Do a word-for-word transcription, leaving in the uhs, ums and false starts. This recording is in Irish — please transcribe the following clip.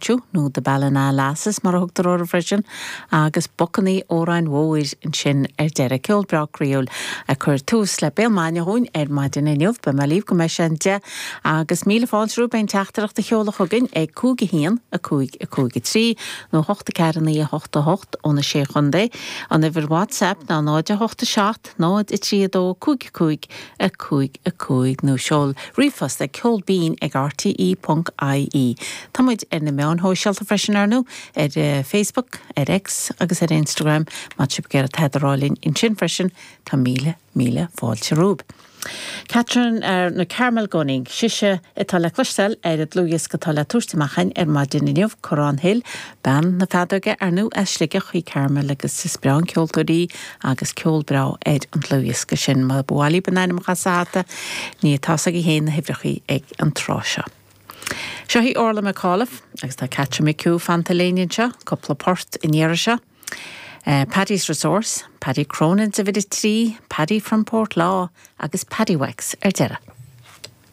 Rancho nó The Ballina Lasses mar a thugtar orthu freisin agus Bucanaí Óráin Mhóir ansin ar deireadh ceol breá croíúil ag cur tús le Béal Maidine dhúinn ar maidin inniu beidh mé libh go mbeidh sé an deich agus míle fáilte romhaibh aon teachtaireacht a sheoladh chugainn ag cúig a haon a cúig a cúig a trí nó hocht a ceathair naoi a hocht a hocht ó na sé chontae an uimhir WhatsApp ná náid a hocht a seacht náid a trí a dó cúig cúig a cúig a cúig nó seol ríomhphost ag ceolbinn ag RTE ponc IE. Tá muid ar na meáin shóisialta freisin ar ndóigh ar uh, Facebook, ar X agus ar Instagram má tá sibh ag iarraidh linn ansin freisin tá míle míle fáilte romhaibh. Catherine ar na Carmel Gunning, sise atá le cloisteáil ar an dlúthdhiosca atá le tabhairt amach ar maidin inniu Corrán Hill, bean na feadóige ar ndóigh as Sligeach í Carmel agus is breá an ceoltóir í agus ceol breá ar an dlúthdhiosca sin má bhuailí ben ainm chasata ní tá ag héin na huimhreacha ag an tráth seo. Seo í Orla McAuliffe agus tá Catherine McHugh fanta linn anseo, cúpla port in iarra seo. Uh, Paddy's Resource, Paddy Cronin's uimhir a trí, Paddy from Portlaw agus Paddy Wax ar deireadh.